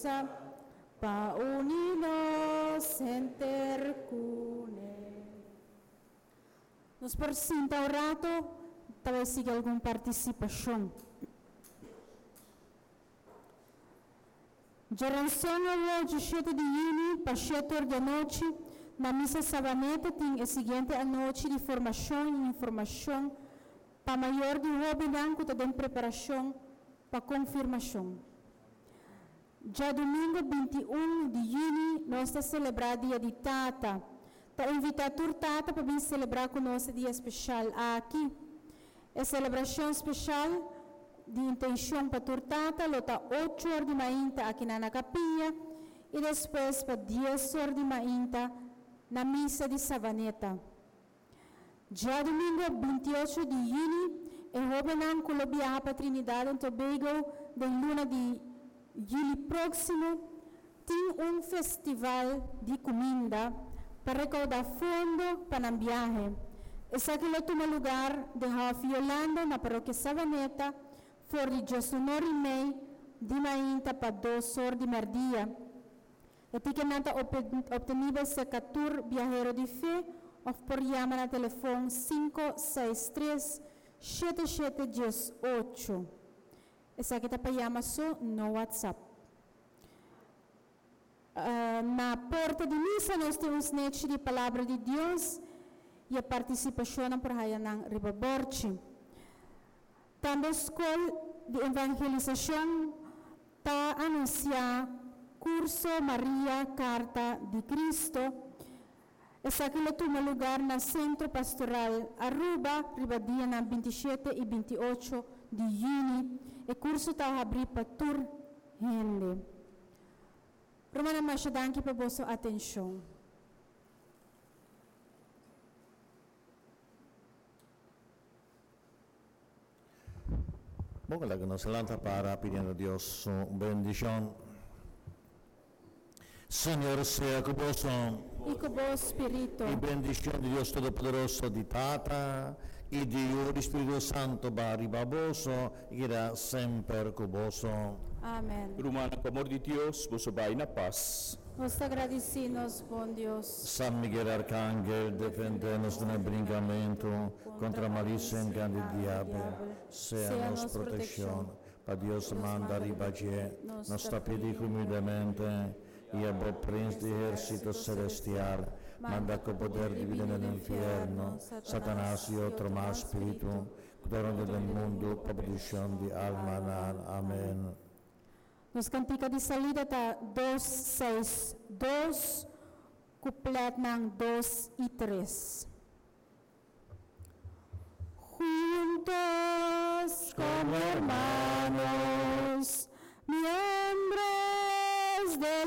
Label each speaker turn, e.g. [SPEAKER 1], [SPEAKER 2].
[SPEAKER 1] usa pa uni nos henter kuné. Nos por sinta un rato, ta bai sigui algun partisipashon. Djaranson awo djishete di yüni pa shete or di anochi na Misa Sabaneta tin e siguiente anochi di formashon i informashon pa mayor di hóbennan ku ta den preparashon pa konfirmashon. Djadumingu 21 di yüni nos ta selebrá Dia di Tata. Ta invitá tur tata pa bin selebrá ku nos e dia speshal aki. E selebrashon speshal di intenshon pa tur tata lo ta ocho or di mainta akinan na kapiya i despues pa dies or di mainta na misa di Savaneta. Djadumingu 28 di yüni e hóbennan ku lo biaha pa Trinidad and Tobago den luna di yüli próksimo tin un festival di kuminda pa rekoudá fondo pa nan biahe. Esaki lo tuma lugar den Hòf Yolanda na Parokia Savaneta for di djesunor i mei di mainta pa dos or di mèrdia. E tikenan ta optenibel serka tur Biahero di Fe òf por yama na telefon 563 7718. Esaki ta pa yama so, no WhatsApp. Na porta di misa nos tin un snechi di Palabra di Dios i e partisipashonnan por haya nan riba borchi. Tambe Skol di Evangelisashon ta anunsiá Kurso Maria Karta di Cristo. Esaki lo tuma lugar na Sentro Pastoral Aruba riba dianan 27 i 28 di yüni. E kurso ta habrí pa tur hende. Rumannan masha danki pa boso atenshon.
[SPEAKER 2] Bon, laga nos lanta para pidiendo Dios su bendishon. Señor sea ku boso.
[SPEAKER 1] I ku bo spiritu.
[SPEAKER 2] I bendishon di Dios Todopoderoso, di Tata, i di Yu, i di Spiritu Santo ba riba boso i keda semper ku boso.
[SPEAKER 1] Amen.
[SPEAKER 3] Rumannan, ku amor di Dios, boso bai na pas.
[SPEAKER 1] Nos ta gradisí nos bon Dios.
[SPEAKER 2] San Miguel Arcangel, defendé nos den e brinkamentu kontra malisia i engan di diabel. Sea nos protekshon. Pa Dios manda riba dje, nos ta pidi humildemente, i abo Prins di ehérsito selestial, manda ku poder divino den infierno Satanas i otro mal spiritu ku ta ronda den mundu pa perdishon di almanan. Amen.
[SPEAKER 1] Nos kantika di salida ta dos seis dos, kupletnan dos i tres. Juntos como hermanos.